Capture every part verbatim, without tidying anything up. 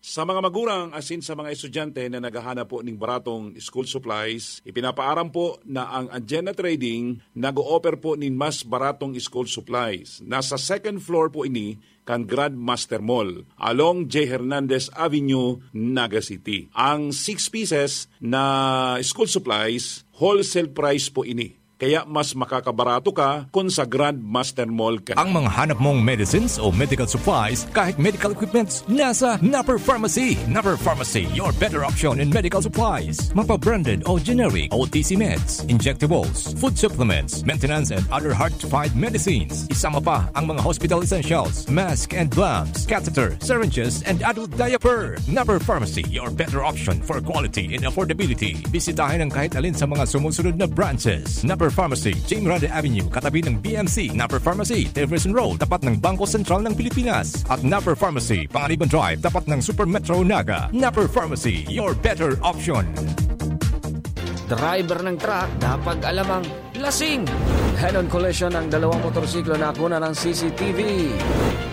Sa mga magurang asin sa mga estudyante na naghahanap po ning baratong school supplies, ipinapaaram po na ang Agena Trading nag-o-offer po nin mas baratong school supplies. Nasa second floor po ini kan Grandmaster Mall, along J Hernandez Avenue, Naga City. Ang six pieces na school supplies, wholesale price po ini. Kaya mas makakabarato ka kun sa Grandmaster Mall ka. Ang mga hanap mong medicines o medical supplies, kahit medical equipments, nasa Napper Pharmacy. Napper Pharmacy, your better option in medical supplies. Mapa-branded o generic, O T C meds, injectables, food supplements, maintenance and other hard-to-find medicines. Isama pa ang mga hospital essentials, mask and gloves, catheter, syringes, and adult diaper. Napper Pharmacy, your better option for quality and affordability. Bisitahin ang kahit alin sa mga sumusunod na branches. Napper Pharmacy, Jim Rade Avenue, katabi ng B M C. Napper Pharmacy, Tilbury Road, tapat ng Bangko Sentral ng Pilipinas. At Napper Pharmacy, Panganiban Drive, tapat ng Super Metro Naga. Napper Pharmacy, your better option. Driver ng truck, napag-alamang lasing. Head-on collision ng dalawang motorsiklo na nakuna ng C C T V.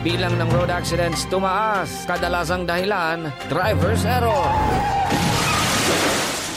Bilang ng road accidents tumaas, kadalasang dahilan, driver's error.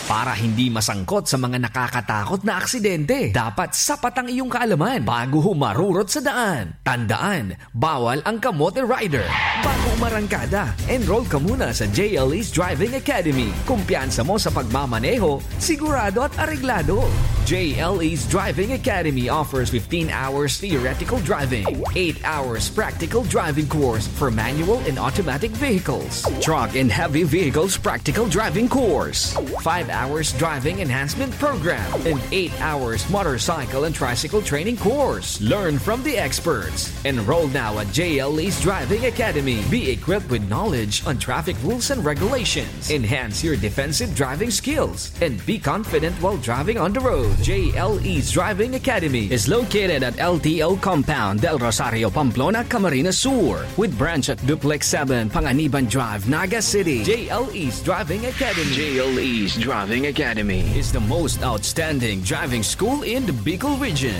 Para hindi masangkot sa mga nakakatakot na aksidente, dapat sapat ang iyong kaalaman bago humarurot sa daan. Tandaan, bawal ang kamote rider. Bago umarangkada, enroll ka muna sa J L E's Driving Academy. Kumpiyansa mo sa pagmamaneho, sigurado at areglado. J L E's Driving Academy offers fifteen hours theoretical driving, eight hours practical driving course for manual and automatic vehicles, truck and heavy vehicles practical driving course, five hours driving enhancement program, and eight hours motorcycle and tricycle training course. Learn from the experts. Enroll now at J L E's Driving Academy. Be equipped with knowledge on traffic rules and regulations. Enhance your defensive driving skills and be confident while driving on the road. J L E's Driving Academy is located at L T O Compound, Del Rosario, Pamplona, Camarines Sur, with branch at Duplex seven, Panganiban Drive, Naga City. J L E's Driving Academy. J L E's Driving Academy is the most outstanding driving school in the Bicol region.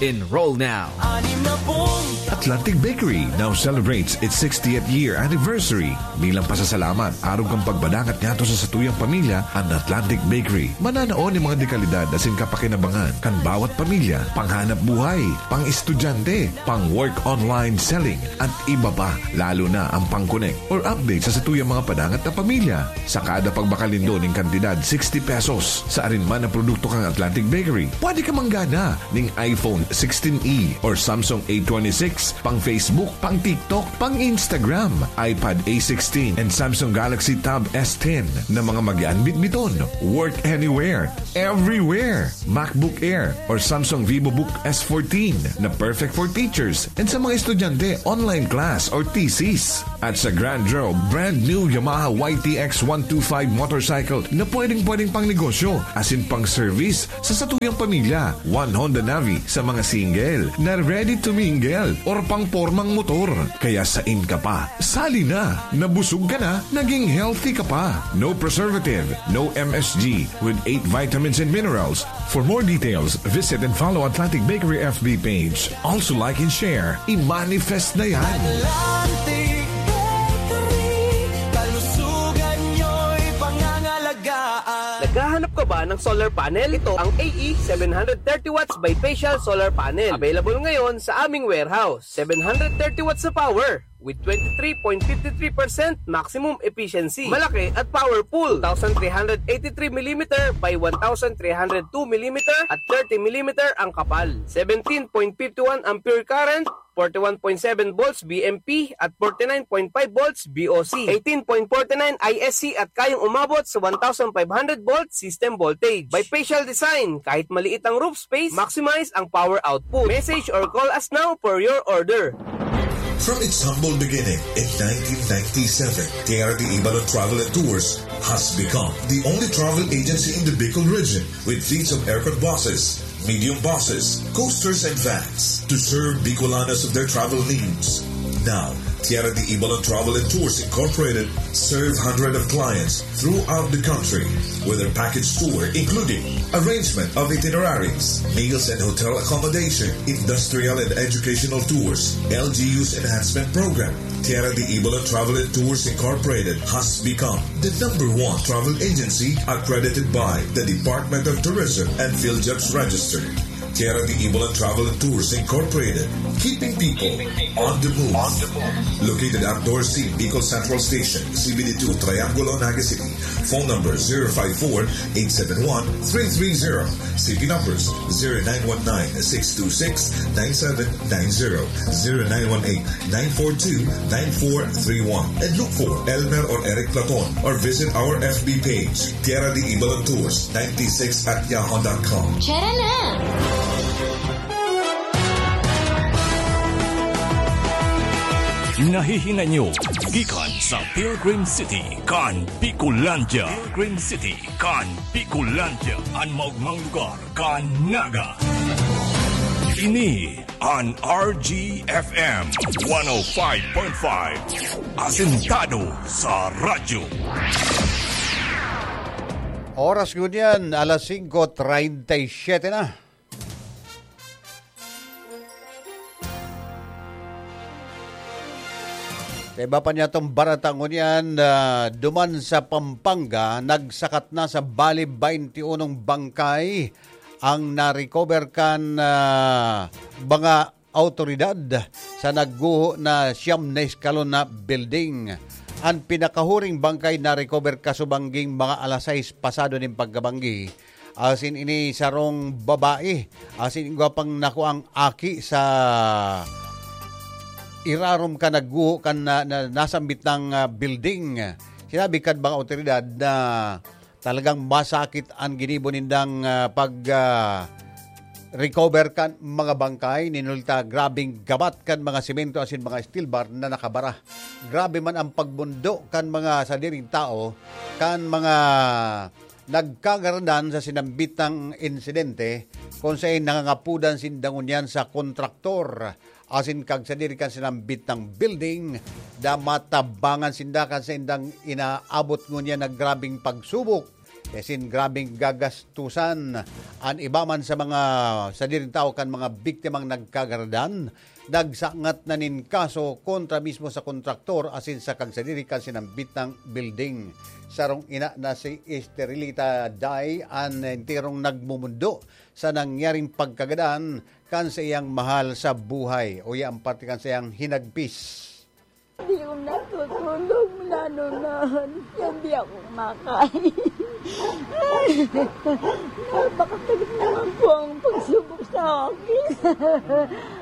Enroll now. Atlantic Bakery now celebrates its sixtieth year anniversary. Bilang pasasalamat, arog kan pagpadangat ngadto sa satuyang pamilya, an Atlantic Bakery mananao nin mga dekalidad asin kapakinabangan kan bawat pamilya, panghanap buhay, pang-estudyante, pang-work online selling, at iba pa, lalo na ang pang-connect or update sa satuyang mga padangat na pamilya. Sa kada pagbakal nindo nin kantidad sixty pesos sa arin man na produkto kan Atlantic Bakery, pwede ka manggana ning iPhone sixteen E or Samsung A twenty-six, pang Facebook, pang TikTok, pang Instagram, iPad A sixteen, and Samsung Galaxy Tab S ten na mga mag-aanbit-biton. Work anywhere, everywhere. MacBook Air or Samsung VivoBook S fourteen na perfect for teachers and sa mga estudyante, online class or thesis. At sa Grand Draw, brand new Yamaha Y T X one two five motorcycle na pwedeng-pwedeng pang negosyo asin pang service sa satuyang pamilya. One Honda Navi sa mga single na ready to mingle or pang pormang motor. Kaya sain ka pa? Sali na! Nabusog ka na, naging healthy ka pa. No preservative, no M S G, with eight vitamins and minerals. For more details, visit and follow Atlantic Bakery F B page. Also like and share. I-manifest na yan! Atlantic Bakery, kalusugan nyo'y pangangalagaan. Naghahanap ka ba ng solar panel? Ito ang A E seven hundred thirty watts bifacial solar panel. Available ngayon sa aming warehouse. Seven hundred thirty watts na power with twenty-three point five three percent maximum efficiency. Malaki at powerful. Two thousand three hundred eighty-three millimeter by one thousand three hundred two millimeter at thirty millimeter ang kapal. Seventeen point five one ampere current, forty-one point seven volts V M P at forty-nine point five volts V O C, eighteen point forty-nine I S C at kayang umabot sa one thousand five hundred volt system voltage. Bifacial design, kahit maliit ang roof space, maximize ang power output. Message or call us now for your order. From its humble beginning in nineteen ninety-seven, K R D Ibalon Travel and Tours has become the only travel agency in the Bicol region with fleets of aircon buses, medium buses, coasters, and vans to serve Bicolanos of their travel needs. Now, Tierra de Ibalan Travel and Tours Incorporated serve hundreds of clients throughout the country with their package tour, including arrangement of itineraries, meals and hotel accommodation, industrial and educational tours, L G U's enhancement program. Tierra de Ibalan Travel and Tours Incorporated has become the number one travel agency accredited by the Department of Tourism and PhilJobs Register. Tierra de Ibalan Travel and Tours Incorporated, keeping people on the move. Located at Dorsey, Bicol Central Station, C B D two, Triangulo, Naga City. Phone number zero five four, eight seven one, three three zero. C P numbers zero nine one nine, six two six, nine seven nine zero, zero nine one eight, nine four two, nine four three one. And look for Elmer or Eric Platon or visit our F B page, Tierra de Ibalan Tours ninety-six at yahoo dot com. Tara na! Nahihinay nyo gikan sa Pilgrim City kan Bicolandia. Pilgrim City kan Bicolandia, an maogmang lugar kan Naga. Ini an R G F M one oh five point five, asentado sa radyo. Oras ngunyan, alas singko treinta y siete na. Sa iba pa niyatong barata ngunyan, ah, duman sa Pampanga, nagsakat na sa bali twenty-unong bangkay ang na-recover kan, ah, mga awtoridad sa nagguho na siyam na eskalon na building. An pinakahuring bangkay na-recover kasubangging mga alas sais pasado nin pagkabanggi. Asin ini sarong babae, asin igwa pang nakuang aki sa irarom kan nagguho kan na, na, nasambit na, ah, building. Sinabi kan mga awtoridad na talagang masakit an ginibo nindang, ah, pag, ah, recover kan mga bangkay. Nin hulta, grabeng gabat kan mga semento asin mga steel bar na nakabara. Grabe man ang pagbundo kan mga sadiring tao, kan mga nagkagaradan sa sinambitang insidente, kung saen nangangapodan sinda ngunyan sa kontraktor asin kagsadiri kan sinambitang building, da matabangan sinda kan saindang inaabot ngunyan na grabeng pagsubok, asin grabeng gagastusan. An iba man sa mga sadiring tawo kan mga biktimang nagkagaradan, nagsangat na nin kaso kontra mismo sa kontraktor asin sa kagsadiri kan sinambitang building. Sarong ina na si Esterelita Day an enterong nagmumundo sa nangyaring pagkagadan kan saiyang mahal sa buhay, uya an parte kan saiyang hinagpis. Di ko natutulog, nanunahan. Yan, di ako makain. Napakasakit naman po ang pagsubok sa akin.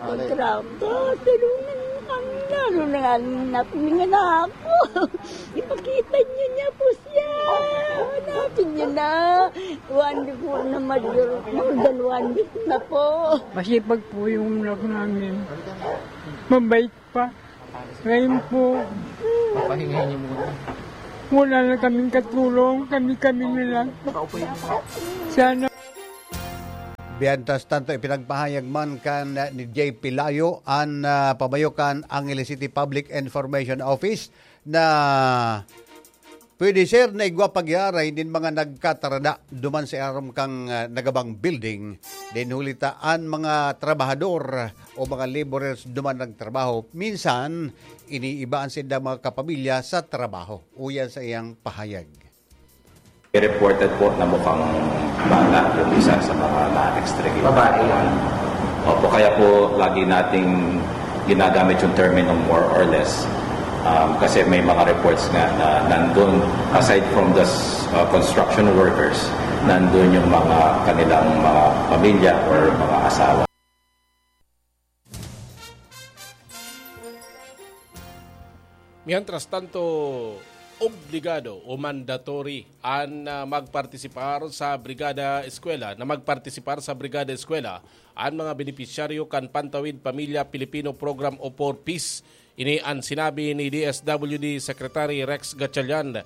Ay. Grabe, tulungan mo kami. Lalo na nga, napulingan na ako. Ipakita niyo niya po siya. Hanapin niyo na. One week po na, more than one week na po. Masipag po yung anak namin. Mabait pa. Ngayon po, Papahingay niyo muna. Wala na kaming katulong, kami-kami na lang. Sana. Mientras tanto, ipinagpahayag man kan ni J P Layo, an, ah, pamayo kan Angeles City Public Information Office, na pwede ser na igwa pagyaray nin mga nagkatarada duman sa irarom kan, ah, nagabang building. Din huli ta an mga trabahador o mga laborers duman nagtrabaho, minsan iniibaan sinda mga kapamilya sa trabaho. Uyan sa iyang pahayag. Reported po na mukhang bata yung isa sa mga na-extract. Babae. Opo, kaya po lagi nating ginagamit yung terminong more or less. Um, kasi may mga reports nga na nandun, aside from the s- uh, construction workers, nandun yung mga kanilang mga pamilya or mga asawa. Mientras tanto, obligado o mandatory an, ah, magpartisipar sa Brigada Eskwela, na magpartisipar sa Brigada Eskwela an mga benepisyaryo kan Pantawid Pamilya Pilipino Program o four Ps. Ini an sinabi ni D S W D Secretary Rex Gatchalian.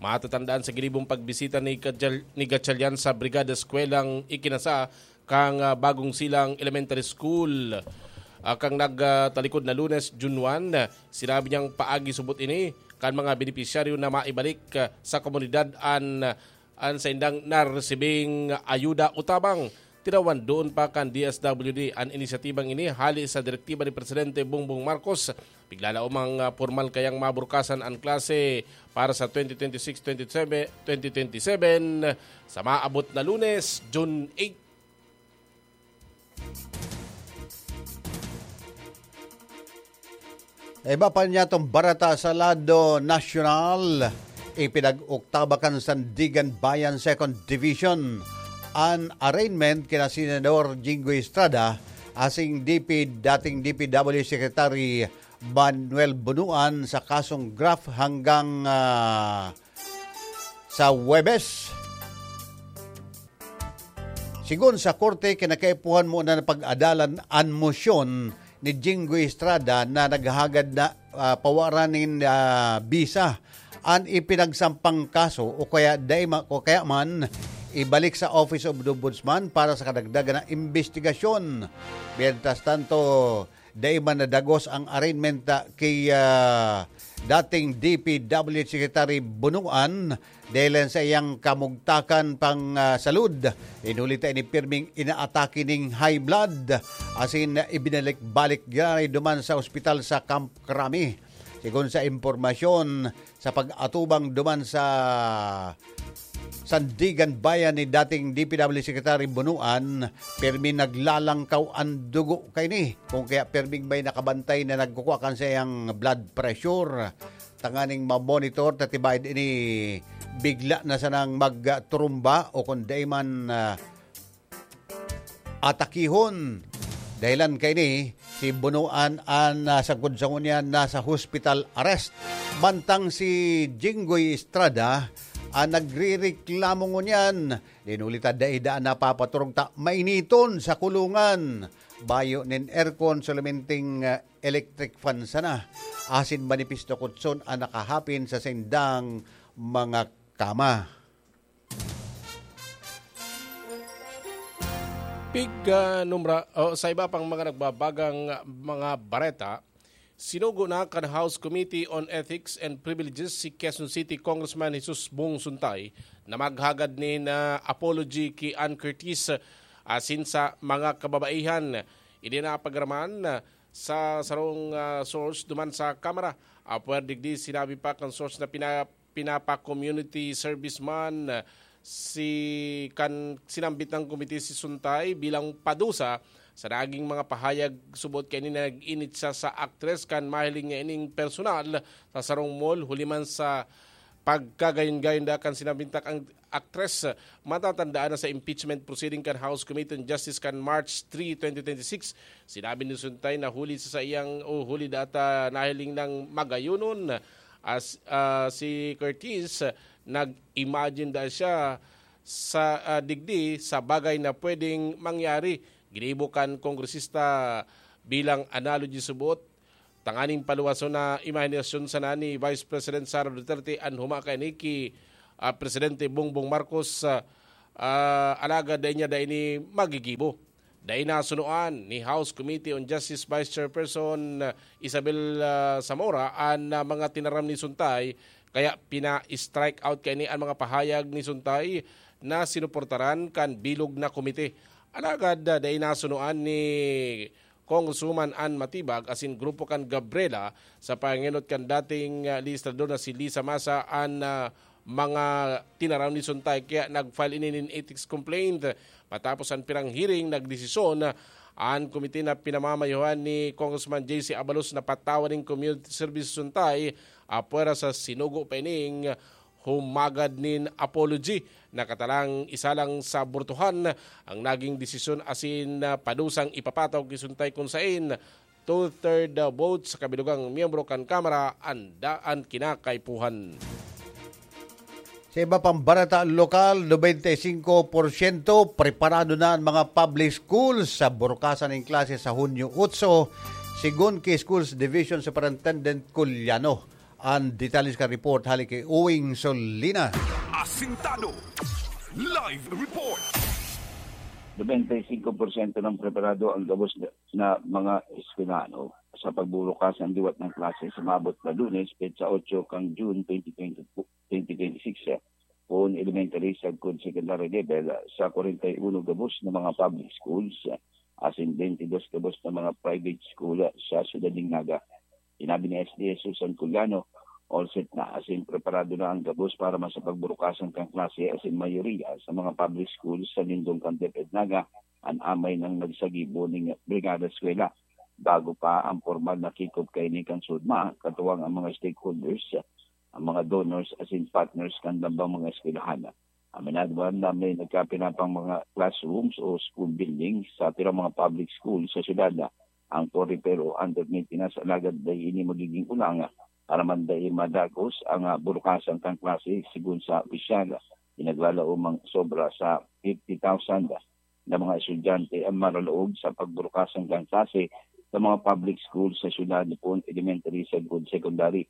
Matatandaan sa ginibong pagbisita ni Gatchal-, ni Gatchalian sa Brigada Eskwelang ikinasa kan, ah, Bagong Silang Elementary School. Ah, kan nagtalikod na Lunes, June one, sinabi niyang paagi subot ini kan mga benepisyaryo na maibalik, ah, sa komunidad an, an saindang naresibing ayuda o tabang. Tinawan doon pa kan D S W D an inisyatibang ini hali sa direktiba ni Presidente Bongbong Marcos. Piglalaom ang, ah, pormal kayang maburkasan an klase para sa twenty twenty-six twenty-seven, twenty twenty-seven sa maabot na Lunes, June eight. Iba pa niya itong barata sa lado nasyonal. Ipinag-oktabakan Sandigan Bayan Second Division an arraignment kina Senador Jinggoy Estrada asing D P, dating D P W Secretary Manuel Bunuan sa kasong graft hanggang, ah, sa Huwebes. Sigon sa korte, kinakaipuhan mo na pag-adalan an mosyon ni Jinggoy Estrada na naghahagad na, ah, pawaran nin, ah, bisa an ipinagsampang kaso o kaya dai ma-, o kaya man ibalik sa Office of the Ombudsman para sa kadagdagan na imbestigasyon. Mientras tanto, dai man nadagos ang arraignment, ah, kay, ah, dating D P W Secretary Bunuan dahil sa iyang kamugtakan pang, ah, salud. Inuli ta ini pirming inaatake ning high blood, asin ibinalik-balik giraray duman sa ospital sa Camp Crame. Sigon sa impormasyon, sa pag-atubang duman sa Sandigan Bayan ni dating D P W Secretary Bunuan, pirmi naglalangkaw an dugo kaini. Kung kaya pirming may nakabantay na nagkukwa kan sa iyang blood pressure, tanganing ma-monitor, ta tibaid ini bigla na sanang magturumba o kung dai man, ah, atakihon. Dahilan kaini, si Bunuan an, ah, sagkod sa ngunyan nasa hospital arrest. Mantang si Jinggoy Estrada an nagrereklamo ngunyan. Dinuli ta dai daan napapaturog ta mainiton sa kulungan. Bayo nin aircon, solamenting, ah, electric fan sana. Asin manipis na kutson an nakahapin sa sindang mga kama. Pig, ah, numra-, o, sa iba pang mga nagbabagang mga bareta, sinugo na kan House Committee on Ethics and Privileges si Quezon City Congressman Jesus Bong Suntay na maghagad nin, ah, apology ki Ann Curtis, ah, asin sa mga kababaihan. Ini na pagaraman, ah, sa sarong, ah, source duman sa Kamara. Apwera digdi, sinabi pa kan source na pina-, pinapa-community service man, ah, si kan sinambit ng komite si Suntay bilang padusa sa naging mga pahayag subot kaini na nag-init siya sa aktres kan mahiling niya ining personal sa sarong mall, huli man sa pagkagayon-gayon da kan sinambit na ang aktres. Matatandaan na sa impeachment proceeding kan House Committee on Justice kan March three, twenty twenty-six, sinabi ni Suntay na huli sa saiyang o huli data nahiling ng magayonon as, ah, si Curtis, nag-imagine da siya sa, ah, digdi sa bagay na pwedeng mangyari. Ginibo kan kongresista bilang analogy subot tanganing paluwason na imahinasyon sana ni Vice President Sara Duterte an huma kaini ki, ah, Presidente Bongbong Marcos, ah, ah, alagad dai niya dai ini magigibo. Dai nasunoan ni House Committee on Justice Vice Chairperson, ah, Isabel, ah, Zamora an, ah, mga tinaram ni Suntay, kaya pina-strike out kaini an mga pahayag ni Suntay na sinuportaran kan bilog na komite. Alagad, ah, dai nasunoan ni Congresswoman Ann Matibag asin grupo kan Gabriela sa pangenot kan dating, ah, legislador na si Lisa Masa an, ah, mga tinaram ni Suntay, kaya nag-file ini nin ethics complaint. Matapos an pirang hearing, nagdesisyon an komite na pinamamayohan ni Congressman J C Abalos na patawan nin community service si Suntay apwera sa sinugo pa ining humagad nin apology. Nakatalang isa lang sa burtuhan ang naging desisyon asin, ah, padusang ipapataw ki Suntay kun saen two-third vote sa kabilugang miyembro kan Kamara an daan kinakaipuhan. Sa iba pang bareta lokal, nobenta y singko porsyento preparado na ang mga public schools sa burukasan nin klase sa Hunyo otso, sigon ki Schools Division Superintendent Culiano. An detalye sa report hali ki Uwing Solina. Asintado. Live report. Nobenta y singko porsyento ng preparado ang gabos na, na mga eskwelano sa pagbubukas ng liwat ng klase sa maabot na Lunes, petsa otso kang June twenty twenty, twenty twenty-six, eh, poon elementary sagkod secondary level sa kwarenta y uno gabos na mga public schools, eh, asin bentidós gabos na mga private school, eh, sa siyudad nin Naga. Sinabi ni S D S Susan Culiano, all set na asin preparado na ang gabos para masapagburukasan kan klase asin mayoriya sa mga public schools sa lindong kan DepEd Naga an amay nang nagsagibo ning Brigada Eskwela. Bago pa ang pormal na kick-off kaini kan SUDMA, katuwang ang mga stakeholders, ang mga donors asin partners kan lambang mga eskwelahan. Aminado man na may nagkapinapang mga classrooms o school buildings sa pirang mga public school sa syudad na ang Torre Pero under maintenance, alagad dai ini magiging ulang para man dai madagos ang, ah, burukasan kan klase. Sigon sa opisyal, pinaglalaomang sobra sa fifty thousand na mga estudyante ang maralaog sa pagburukasan kan klase sa mga public school sa syudad, poon elementary sagkod secondary.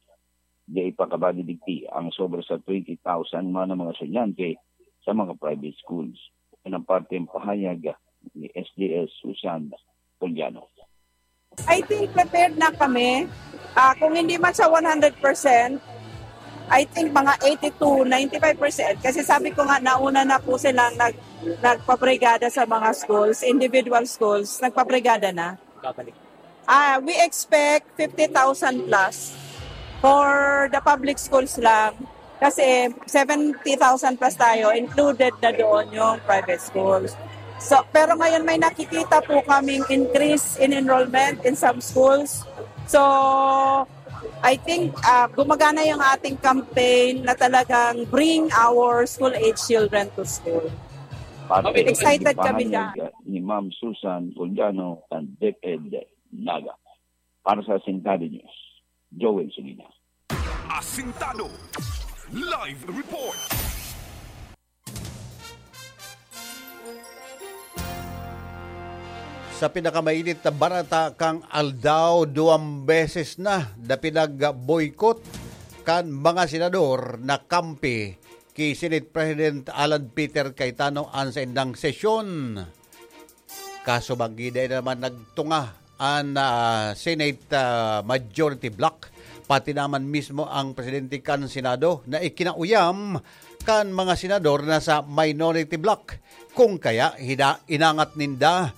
Dai pa kabali digdi ang sobra sa twenty thousand man na mga estudyante sa mga private schools. Yan ang parte ng pahayag ni S D S Susan Puliano. I think prepared na kami. Ah, kung hindi man sa one hundred percent, I think mga eighty to ninety-five percent. Kasi sabi ko nga, nauna na po silang nag, nagpabrigada sa mga schools, individual schools, nagpabrigada na. Babalik. Ah, we expect fifty thousand plus for the public schools lang. Kasi seventy thousand plus tayo, included na doon yung private schools. So, pero ngayon may nakikita po kaming increase in enrollment in some schools. So, I think ah, gumagana yung ating campaign na talagang bring our school-age children to school. Parte ng Excited kami pahayag ni Ma'am Susan Puliano ng DepEd Naga. Para sa Asintado News, Joel Sulina. Asintado Live Report. Sa pinakamainit na barata kang aldaw, duwang beses na na pinag-boycott kan mga senador na kampi ki Senate President Alan Peter Cayetano an saindang sesyon. Kaso banggi dai naman nagtunga an ah, Senate ah, Majority Bloc, pati naman mismo ang presidente kan Senado na ikinauyam kan mga senador na sa Minority Bloc. Kung kaya, hina- inangat ninda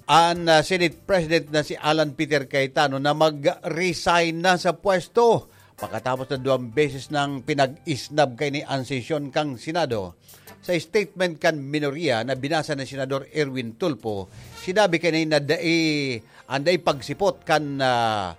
an ah, Senate President na si Alan Peter Cayetano na mag-resign na sa pwesto pakatapos na duwang beses nang pinag-isnab kaini an sesyon kan Senado. Sa statement kan minorya na binasa ni Senador Erwin Tulfo, sinabi kaini na dai, an dai pagsipot kan ah,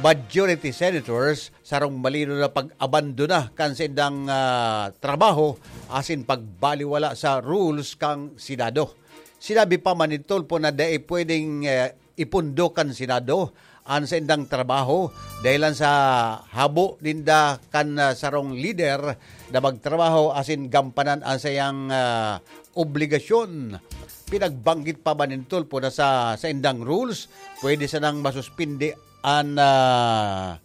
majority senators sarong malinaw na pag-abandona kan saindang ah, trabaho asin pagbaliwala sa rules kan Senado. Sinabi pa man ni Tulfo na dai pwedeng eh, ipundo kan Senado an saindang trabaho dahelan sa habo ninda kan ah, sarong lider na magtrabaho asin gampanan an saiyang ah, obligasyon. Pinagbanggit pa man ni Tulfo na sa saindang rules, pwede sanang masuspindi an ah,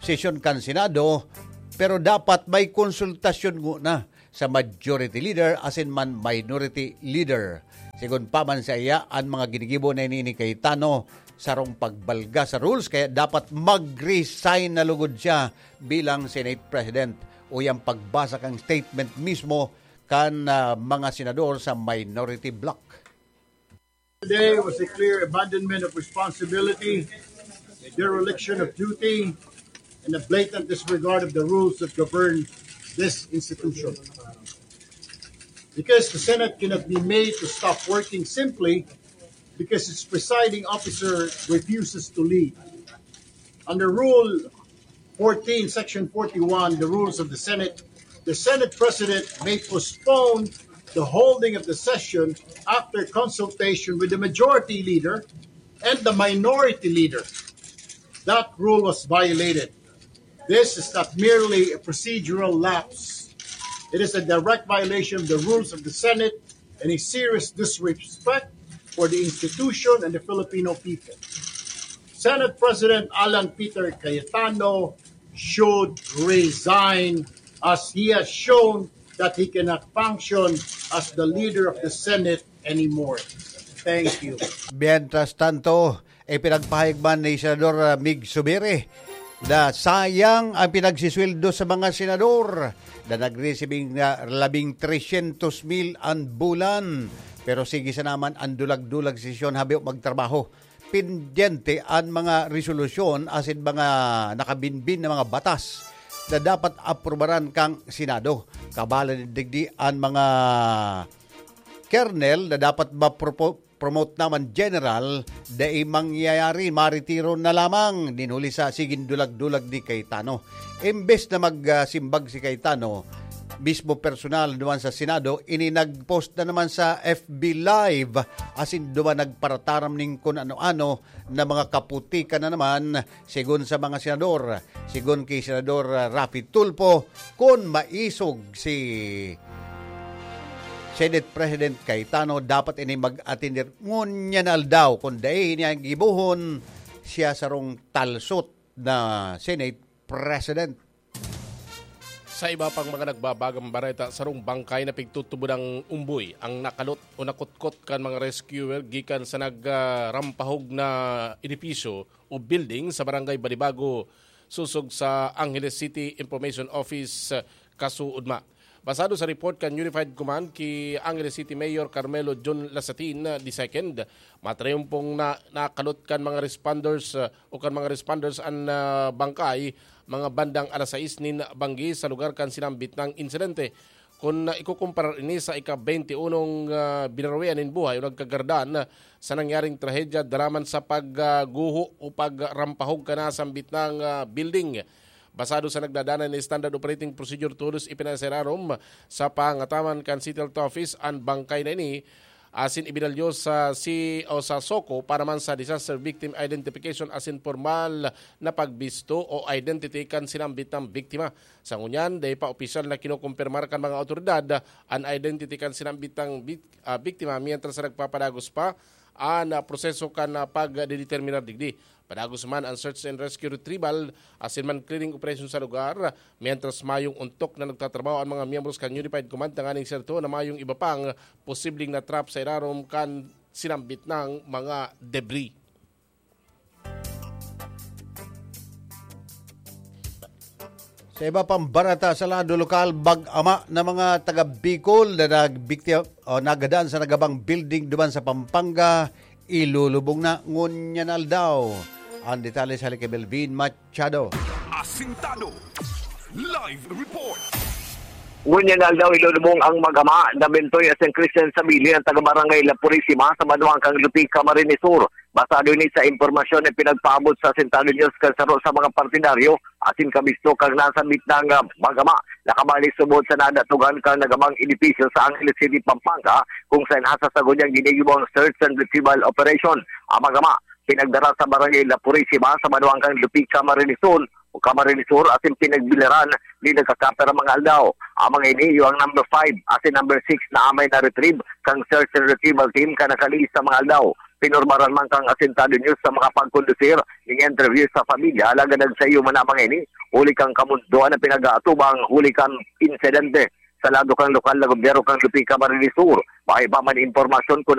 sesyon kan Senado, pero dapat may konsultasyon nguna sa majority leader asin man minority leader. Sigon pa man saiya, an mga ginigibo na ini ni Cayetano sarong pagbalga sa rules, kaya dapat mag-resign na lugod siya bilang Senate President. Uya an pagbasa kan statement mismo kan ah, mga senador sa minority bloc. Today was a clear abandonment of responsibility, a dereliction of duty, and a blatant disregard of the rules that govern this institution. Because the Senate cannot be made to stop working simply because its presiding officer refuses to leave. Under Rule fourteen, Section forty-one, the rules of the Senate, the Senate President may postpone the holding of the session after consultation with the majority leader and the minority leader. That rule was violated. This is not merely a procedural lapse. It is a direct violation of the rules of the Senate and a serious disrespect for the institution and the Filipino people. Senate President Alan Peter Cayetano should resign as he has shown that he cannot function as the leader of the Senate anymore. Thank you. Mientras tanto, ipinagpahayag man ni Senador uh, Mig Subiri na sayang ang pinagsisweldo sa mga senador na nagresibing uh, labing tresyentos mil an bulan. Pero sige sa naman ang dulag-dulag sesyon, habi magtrabaho. Pendyente an mga resolusyon asin mga nakabinbin na mga batas na dapat aprubaran kan Senado. Kabala digdi an mga kernel na dapat mapropo-, promote naman general, dai mangyayari, maretiro na lamang. Nin huli sa sigin dulag-dulag ni Cayetano. Imbes na magsimbag si Cayetano, mismo personal duman sa Senado, ini nag-post na naman sa F B Live, asin duman nagparataram ning kun ano-ano na mga kaputikan na naman, sigon sa mga senador. Sigon ki Senador Raffy Tulfo, kun maisog si Senate President Cayetano, dapat ini mag-atender ngunyan na aldaw. Kun dai niya gibohon, siya sarong talsot na Senate President. Sa iba pang mga nagbabagang bareta, sarong bangkay na pigtutubod ang umboy ang nakalot o nakutkot kan mga rescuer gikan sa nagrampahog na edipisyo o building sa Barangay Balibago, susog sa Angeles City Information Office, kasuodma. Basado sa report kan Unified Command ki Angeles City Mayor Carmelo John Lasatin the second, matrayumpong na nakalot kan mga responders uh, o kan mga responders an uh, bangkay mga bandang alas sais nin banggi sa lugar kan sinambit nang insidente. Kun uh, ikukumparar ini sa ika-twenty-unong uh, binaroyan nin buhay o nagkagardan uh, sa nangyaring trahedya daraman sa pagguho o pagrampahog kan nasambit nang uh, building. Basado sa nagdadanay na Standard Operating Procedure, todos ipinasirarom sa pangataman kan City Health Office an bangkay na ini asin ibinalyo sa si o sa SOCO para man sa disaster victim identification asin formal na pagbisto o identity kan sinambit na biktima. Sa ngunyan, dai pa opisyal na kinokompirmar kan mga awtoridad an identity kan sinambit na bik- ah, biktima, mientras na nagpapadagos pa an ah, proseso kan ah, pagdedeterminar digdi. Padagos man an search and rescue, retrieval asin man clearing operation sa lugar, mientras mayong ontok na nagtatrabaho an mga miyembros kan Unified Command tanganing serto na mayong iba pang posibleng na-trap sa irarom kan sinambit na mga debris. Sa iba pang bareta sa lado lokal, mag-ama na mga taga Bicol na nagbiktima o nagadan sa nagabang building duman sa Pampanga, ilulubong na ngunyan aldaw. Ang detalye sa hali ki Melvin Machado. Asintado. Live report. Ngunyan aldaw ilulubong ang mag-ama na Bentoy asin Christian Sabili ang taga-barangay La Purisima sa banwaan kan Lupi, Camarines Sur. Basado ini sa impormasyon na pinagpaabot sa Asintado News kan saro sa mga partidaryo asin kabisto kan nasambit na mag-ama. Nakabalik subod sa nadatugan kan nagabang edipisyo sa Angeles City, Pampanga, kung saan hasasagod niyang ginigibo ang search and retrieval operation. Ang mag-ama, pinagdara sa barangay La Purisima sa banwaan kan Lupi, Camarines Sur, o Camarines Sur, asin pinagbiliran ni nagkakapira mga aldaw. Ang mga ini, iyo ang number five asin number six na amay na retrieve kang search and retrieval team kan nakalihis na mga aldaw. Pinurmaran man kang Asintado News sa mga pagkondusir ning interview sa pamilya, alagad nagsaiyo man ang mga ini huli kan kamundoan na pinag-aatubang huli kan insidente. Sa lado kan lokal na gobyerno kan Lupi, Camarines Sur, mayo pa man impormasyon kung